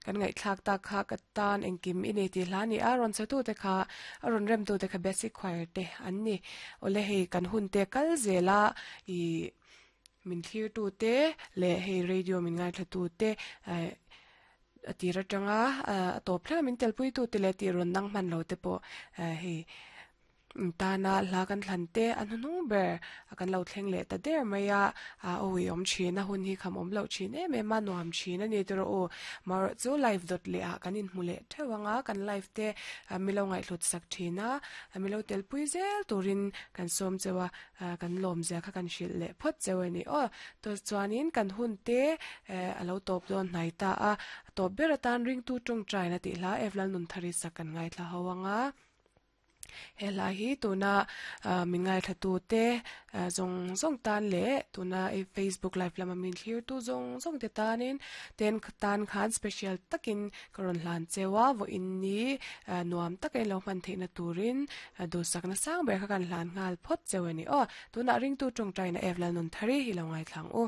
Kan ngaihthlak tak kha ka tan engkim i nei tih hla a ni a, rawn chhe tute kha a rawn rem tute kha basic choir te an ni. Awle hei kan hun te kal zel a ih min thlir tute leh hei radio min ngaithla tute eh a tir atanga a tawp thleng a min telpui tute leh tih rawn nang hman lo te pawh eh hei. Tana hla kan thlan te a hnuhnung ber a kan lo thleng leh ta der mai a, a awi awm thin a hun hi kham awm loh thin em em a nuam thin a ni tiraw u. Marawh chu live dawt leh ah kan inhmu leh theuh ang a, kan live te milo ngaihhlut sak thin a, milo telpui zel turin kan sawm cheu a, kan lawm zia kha kan hrilh leh phawt cheu a ni aw. Chuanin kan hun te a lo tawp dawn hnai ta a, a tawp ber atan ringtu tawngtaina tih hla Evlal Nunthari sak kan ngaithla ho ang a. He hla hi tuna min ngaithla te zawng zawng tan leh tuna i facebook live lama min thlir tu zawng zawng te tanin ten tan khan special takin ka rawn hlan cheu a vawiin ni nuam taka in lo hman theihna turin duhsakna sang ber kha kan hlan nghal phawt cheu a ni aw. Tunah ringtu tawngtaina Evelyn Nunthari hi lo ngaithla ang u.